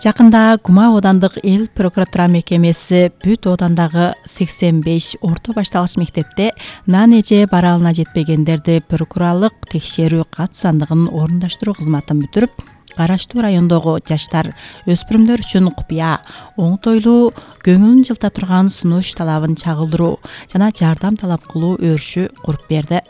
Жакында Кума оодандык эл прокуратура мекемеси бүт оодандагы 85 орто башталгыч мектепте нан эже баралына жетпегендерди прокурорлук текшерүү кат сандыгын орундаштыруу кызматын бүтүрүп, Караштуу райондогу жаштар, өспүрүмдөр үчүн купуя, оңтойлуу, көңүлүн жылта турган сунуш талабын чагылдыруу жана жардам талап кылуу өрүшү куруп берди.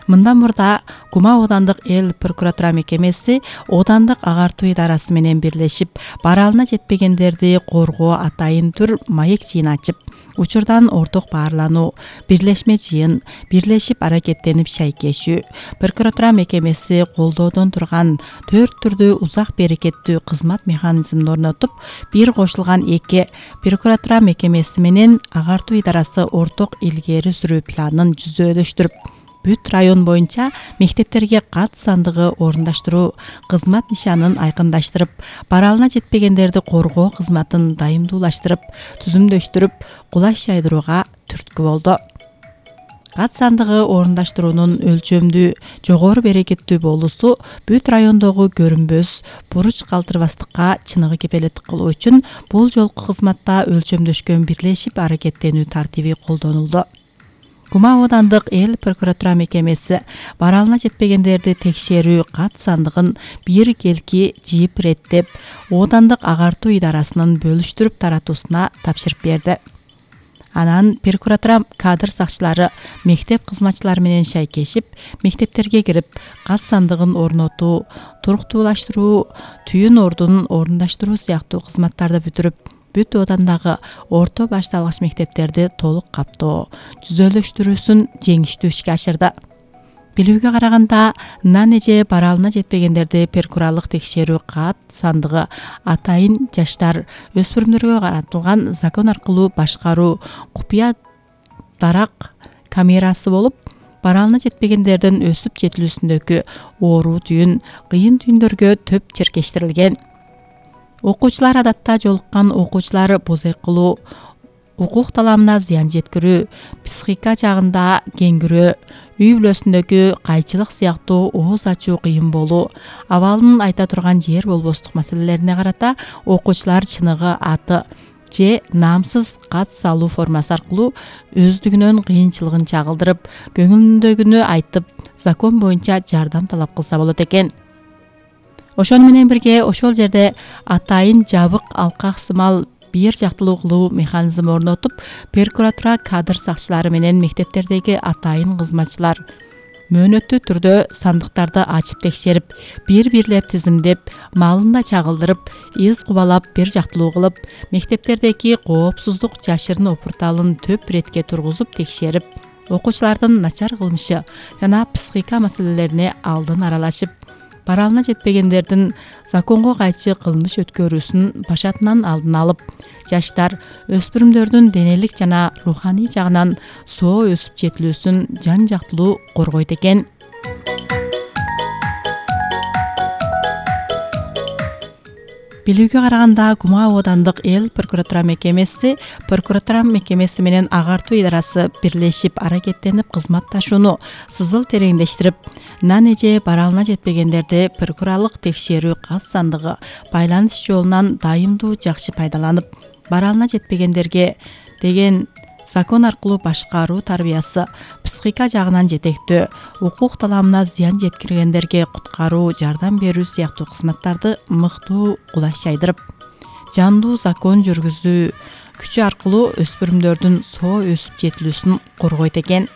Мындан мурда Кума оодандык эл прокуратура мекемеси оодандык агартуу идарасы менен бирлешип, баралына жетпегендерди коргоо атайын түр маек жыйын ачып, учурдан орток баарлануу, бирлешме жыйын, бирлешип аракеттенип шайкешүү, прокуратура мекемеси колдоодон турган 4 түрдүү узак берекеттүү кызмат механизмин орнотуп, бир кошулган 2 прокуратура мекемеси менен агартуу идарасы орток илгери сүрүү планын жүзөөлөштүрүп, бүт район боюнча мектептерге кат сандыгы орундаштыруу кызмат нишанын айкындаштырып, баралына жетпегендерди коргоо кызматын дайымдуулаштырып, түзүмдөштүрүп, кулаш жайдырууга түрткү болду. Кат сандыгы орундаштыруунун өлчөмдүү, жогору берекеттүү болуусу бүт райондогу көрүнбөс, буруч калтырбастыкка чыныгы кепелеттик кылуу үчүн бул жолку кызматта өлчөмдөшкөн бирлешип аракеттенүү тартиби колдонулду. Кума оодандык эл прокуратура мекемеси баралына жетпегендерди текшерүү кат сандыгын бир келки жыйып иреттеп, оодандык агартуу идарасынын бөлүштүрүп таратуусуна тапшырып берди. Анан прокуратура кадр сакчылары мектеп кызматчылары менен шайкешип, мектептерге кирип, кат сандыгын орнотуу, туруктуулаштыруу, түйүн ордун орундаштыруу сыяктуу кызматтарды бүтүрүп, бүт оодандагы орто башталгыч мектептерди толук каптоо, түзөөлөштүрүүсүн жеңиштүү ишке ашырды. Билүүгө караганда, нан эже баралына жетпегендерди прокурорлук текшерүү кат сандыгы атайын жаштар, өспүрүмдөргө каратылган закон аркылуу башкаруу купуя дарак камерасы болуп, баралына жетпегендердин өсүп жетилүүсүндөгү оору түйүн, кыйын түйүндөргө төп черкештирилген. Окуучулар адатта жолуккан окуучулар бозой кылуу, укук таламына зыян жеткирүү, психика жагында кеңгирөө, үй бүлөсүндөгү кайчылык сыяктуу ооз ачуу кыйын болуу, абалын айта турган жер болбостук маселелерине карата окуучулар чыныгы аты же наамсыз кат салуу формасы аркылуу өздүгүнөн кыйынчылыгын чагылдырып, көңүлүндөгүнү айтып, закон боюнча жардам талап кылса болот экен. Ошону менен бирге ошол жерде атайын жабык алкак сымал бир жактылуу кылуу механизми орнотуп, прокуратура кадр сакчылары менен мектептердеги атайын кызматчылар мөөнөттүү түрдө сандыктарды ачып текшерип, бир-бирлеп тизимдеп, маалын да чагылдырып, из кубалап бир жактылуу кылып, мектептердеги коопсуздук жашырын опурталын төп иретке тургузуп текшерип, окуучулардын начар кылмышы жана психика маселелерине алдын аралашып, баралына жетпегендердин законго кайчы кылмыш өткөрүүсүн башатынан алдын алып, жаштар, өспүрүмдөрдүн денелик жана руханий жагынан соо өсүп жетилүүсүн жан жактылуу коргойт экен. Билүүгө караганда, Кума оодандык эл прокуратура мекемеси менен агартуу идарасы бирлешип аракеттенип кызматташууну сызыл тереңдештирип, нан эже баралына жетпегендерди прокурорлук текшерүү кат сандыгы байланыш жолунан дайымдуу жакшы пайдаланып, баралына жетпегендерге деген закон аркылуу башкаруу тарбиясы, психика жагынан жетектөө, укук таламына зыян жеткиргендерге куткаруу, жардам берүү сыяктуу кызматтарды мыктуу кулаш жайдырып, жандуу закон жүргүзүү күчү аркылуу өспүрүмдөрдүн соо өсүп жетилүүсүн коргойт экен.